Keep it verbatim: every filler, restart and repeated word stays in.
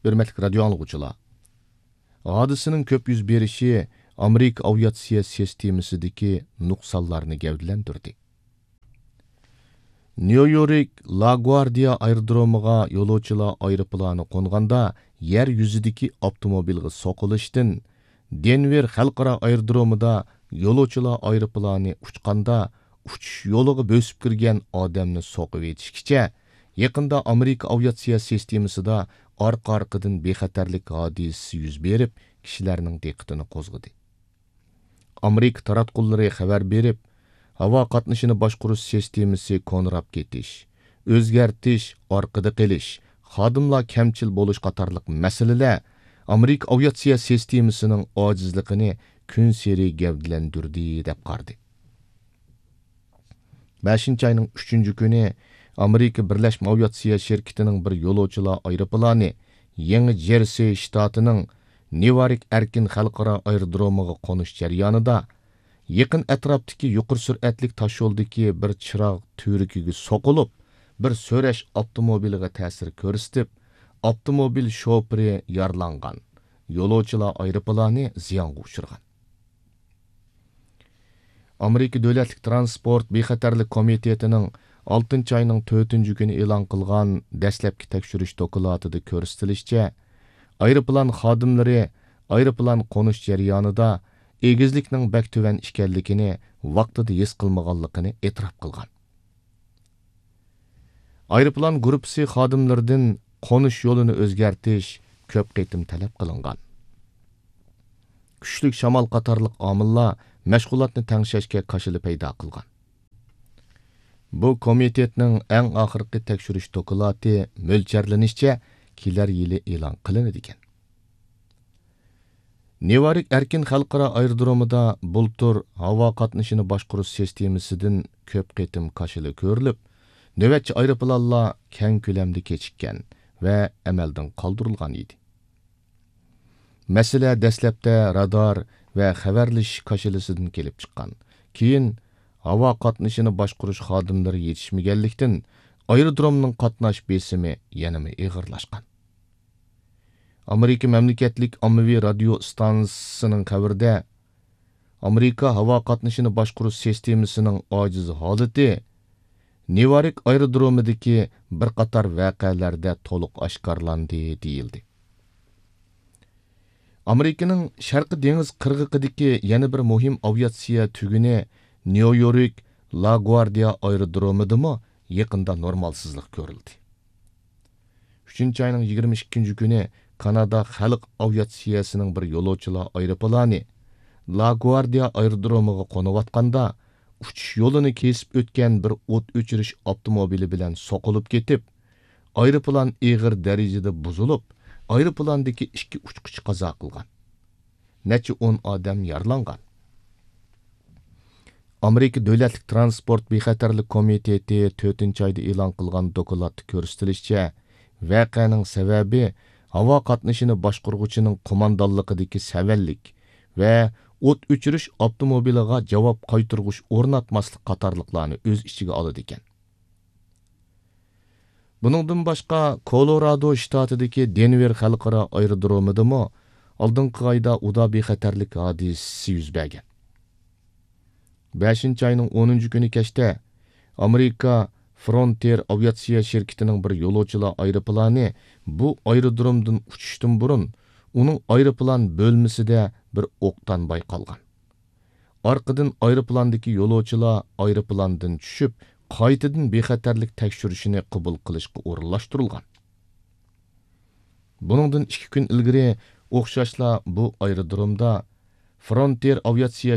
ھۆرمەتلىك رادىيو ئاڭلىغۇچىلار، ھادىسىنىڭ كۆپ يۈز بېرىشى ئامېرىكا ئاۋىياتسىيە سىستېمىسىدىكى نۇقسانلارنى گەۋدىلەندۈردى. نيۇ يورك لاگۋاردىيا ئايرودرومىغا يولۇچىلار ئايروپىلانى قونغاندا يەر يۈزىدىكى ئاپتوموبىلغا سوقۇلۇشتىن، دېنۋېر خەلقئارا ئايرودرومىدا يولۇچىلار ئايروپىلانى ئۇچقاندا ئۇچۇش يولىغا بۆسۈپ كىرگەن ئادەمنى سوقۇۋېتىشكىچە، يېقىندا ئامېرىكا ئاۋىياتسىيە سىستېمىسىدا ئارقا-ئارقىدىن بىخەتەرلىك ھادىسىسى يۈز بېرىپ، كىشىلەرنىڭ دىققىتىنى قوزغىدى. ئامېرىكا تاراتقۇلىرى خەۋەر بېرىپ، ھاۋا قاتنىشىنى باشقۇرۇش سىستېمىسى كونىراپ كېتىش، ئۆزگەرتىش، ئارقىدا قېلىش، خادىملار كەمچىل بولۇش قاتارلىق مەسىلىلەر ئامېرىكا ئاۋىياتسىيە سىستېمىسىنىڭ ئاجىزلىقىنى كۈنسېرى گەۋدىلەندۈردى، دەپ قارىدى. بەشىنچى ئاينىڭ ئۈچىنچى كۈنى ئامېرىكا بىرلەشمە ئاۋىياتسىيە شىركىتىنىڭ بىر يولۇچىلار ئايروپىلانى يېڭى جېرسى شتاتىنىڭ نېۋارك ئەركىن خەلقئارا ئايرودرومىغا قونۇش جەريانىدا، يېقىن ئەتراپتىكى يۇقىرى سۈرئەتلىك تاشيولدىكى بىر چىراغ تۈۋرۈكىگە سوقۇلۇپ، بىر سۈرۈش ئاپتوموبىلىغا تەسىر كۆرسىتىپ، ئاپتوموبىل شوپۇرى يارىلانغان، يولۇچىلار ئايروپىلانى زىيانغا ئۇچرىغان. ئامېرىكا دۆلەتلىك ترانسپورت بىخەتەرلىك كومىتېتىنىڭ ئالتىنچى ئاينىڭ تۆتىنچى كۈنى ئېلان قىلغان دەسلەپكى تەكشۈرۈش دوكلاتىدا كۆرسىتىلىشىچە، ئايروپىلان خادىملىرى ئايروپىلان قونۇش جەريانىدا ئېگىزلىكنىڭ بەك تۆۋەن ئىكەنلىكىنى ۋاقتىدا ھېس قىلمىغانلىقىنى ئېتىراپ قىلغان. ئايروپىلان گۇرۇپپىسى خادىملىرىدىن قونۇش يولىنى ئۆزگەرتىش كۆپ قېتىم تەلەپ قىلىنغان. كۈچلۈك شامال قاتارلىق ئامىللار مەشغۇلاتنى تەڭشەشكە كاشىلا پەيدا قىلغان. بۇ كومىتېتنىڭ ئەڭ ئاخىرقى تەكشۈرۈش دوكلاتى مۆلچەرلىنىشىچە كېلەر يىلى ئېلان قىلىنىدىكەن. نېۋارك ئەركىن خەلقئارا ئايرودرومىدا بۇلتۇر ھاۋا قاتنىشىنى باشقۇرۇش سىستېمىسىدىن كۆپ قېتىم كاشىلا كۆرۈلۈپ، نۆۋەتچى ئايروپىلانلار كەڭ كۆلەمدە كېچىككەن ۋە ئەمەلدىن قالدۇرۇلغان ئىدى. مەسىلە دەسلەپتە رادار ۋە خەۋەرلىشىش كاشىلىسىدىن كېلىپ چىققان. كېيىن ھاۋا قاتنىشىنى باشقۇرۇش خادىملىرى يېتىشمىگەنلىكتىن، ئايرودرومنىڭ قاتناش بېسىمى يەنىمۇ ئېغىرلاشقان. ئامېرىكا مەملىكەتلىك ئاممىۋى رادىيو ئىستانسىسىنىڭ خەۋىرىدە، ئامېرىكا ھاۋا قاتنىشىنى باشقۇرۇش سىستېمىسىنىڭ ئاجىز ھالىتى نېۋارك ئايرودرومىدىكى بىر قاتار ۋەقەلەردە تولۇق ئاشكارىلاندى، دېيىلدى. ئامېرىكىنىڭ شەرقىي دېڭىز قىرغىقىدىكى يەنە بىر مۇھىم ئاۋىياتسىيە تۈگۈنى نيۇ يورك لاگۋاردىيا ئايرودرومىدىمۇ يېقىندا نورمالسىزلىق كۆرۈلدى. ئۈچىنچى ئاينىڭ يىگىرمە ئىككىنچى كۈنى كانادا خەلق ئاۋىياتسىيەسىنىڭ بىر يولۇچىلار ئايروپىلانى لاگۋاردىيا ئايرودرومىغا قونۇۋاتقاندا، ئۇچۇش يولىنى كېسىپ ئۆتكەن بىر ئوت ئۆچۈرۈش ئاپتوموبىلى بىلەن سوقۇلۇپ كېتىپ، ئايروپىلان ئېغىر دەرىجىدە بۇزۇلۇپ، ئايروپىلاندىكى ئىككى ئۇچقۇچى قازا قىلغان. نەچچە ئون ئادەم يارىلانغان. ئامېرىكا دۆلەتلىك ترانسپورت بىخەتەرلىك كومىتېتى تۆتىنچى ئايدا ئېلان قىلغان دوكلاتتا كۆرسىتىلىشىچە، ۋەقەنىڭ سەۋەبى ھاۋا قاتنىشىنى باشقۇرغۇچىنىڭ قوماندانلىقىدىكى سەۋەنلىك ۋە ئوت ئۆچۈرۈش ئاپتوموبىلىغا جاۋاب قايتۇرغۇچ ئورناتماسلىق قاتارلىقلارنى ئۆز ئىچىگە ئالىدىكەن. بۇنىڭدىن باشقا، كولورادو شتاتىدىكى دېنۋېر خەلقئارا ئايرودرومىدىمۇ ئالدىنقى ئايدا ئۇدا بىخەتەرلىك ھادىسىسى يۈز بەرگەن. بەشىنچى ئاينىڭ ئونىنچى كۈنى كەچتە ئامېرىكا فرونتىر ئاۋىياتسىيە شىركىتىنىڭ بىر يولۇچىلار ئايروپىلانى بۇ ئايرودرومدىن ئۇچۇشتىن بۇرۇن ئۇنىڭ ئايروپىلان بۆلمىسىدە بىر ئوقدان بايقالغان. ئارقىدىن ئايروپىلاندىكى يولۇچىلار ئايروپىلاندىن چۈشۈپ، قايتىدىن بىخەتەرلىك تەكشۈرۈشىنى قوبۇل قىلىشقا ئورۇنلاشتۇرۇلغان. بۇنىڭدىن ئىككى كۈن ئىلگىرى ئوخشاشلا بۇ ئايرودرومدا فرونتىر ئاۋىياتسىيە